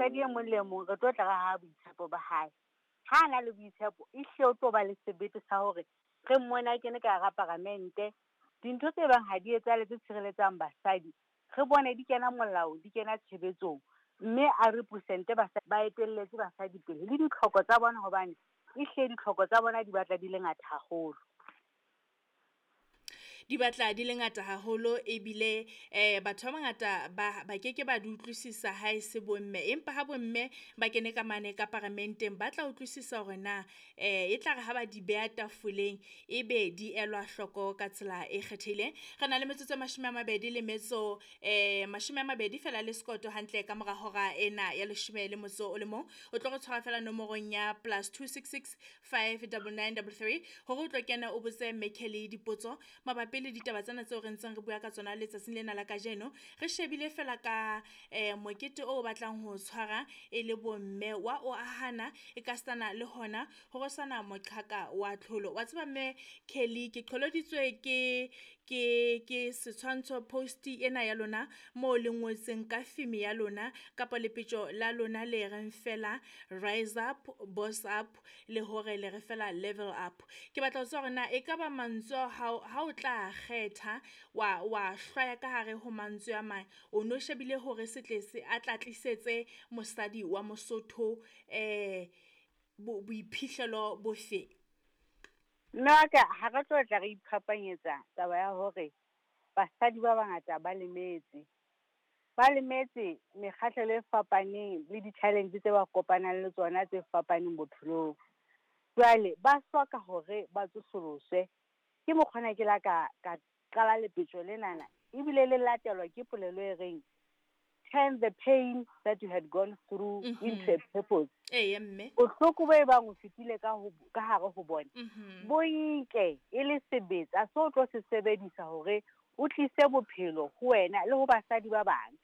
Mosadi e mong le mong re tlo tla re ha boitshepo ba hae. Ha a na le boitshepo, ehlile o tlo ba le sebete sa hore re mmone a kene ka hara paramente. Dintho tse bang ha di etsahale tse tshireletsang basadi, re bone di kena molao, di kena tshebetsong. Mme a represent-e basadi, ba etelletse basadi pele le ditlhoko tsa bona, hobane ehlile ditlhoko tsa bona di batla di le ngata haholo. Di batla di le ngata haholo ebile batho ba bangata ba ke ke ba di utlwisisa ha e se bomme. Empa ha bomme ba kene ka mane ka paramenteng, ba tla utlwisisa hore na e tla re ha ba di beha tafoleng ebe di elwa hloko ka tsela e kgethehileng. Re na le metsotso e mashome a mabedi le metso mashome a mabedi fela le sekoto hantle ka mora hora ena ya leshome le motso o le mong. O tlo re tshwara fela nomorong ya +266 599 33 hore o tlo kena o botse Mme Kelly dipotso mabapi le ditaba tsena tseo re ntseng re bua ka tsona letsatsing lena la kajeno. Re shebile fela ka mokete o batlang ho tshwara e le bomme wa o ahana e ka stana le hona ho rwesana moqhaka wa tlholo. Wa tseba Mme Kelly, ke qholoditswe ke setshwantsho post ena ya lona mo le ngotseng ka theme ya lona kapa lepetjo la lona le reng fela rise up, boss up, le hore le re fela level up. Ke batla ho tseba hore na ekaba mantswe ao ha o tla kgetha wa hlwaya ka hare ho mantswe a mang, o no shebile hore se tle se a tla tlisetse mosadi wa Mosotho boiphihlelo bofe? Mme wa ka, ha re tlo tla re iphapanyetsa taba ya hore basadi ba bangata ba lemetse. Ba lemetse mekgahlelo e fapaneng le di-challenge tse ba kopanang le tsona tse fapaneng bophelong. Jwale ba hloka hore ba tsosoloswe. Ke mokgwa ona ke la ka qala lepetjo lenana, ebile le latelwa ke polelo e reng turn the pain that you had gone through into a purpose. Eya mme. Bohloko bo e bang o fetile ka hare ho bona, bo nke e le sebetsa seo o tlo se sebedisa hore o tlise bophelo ho wena le ho basadi ba bang.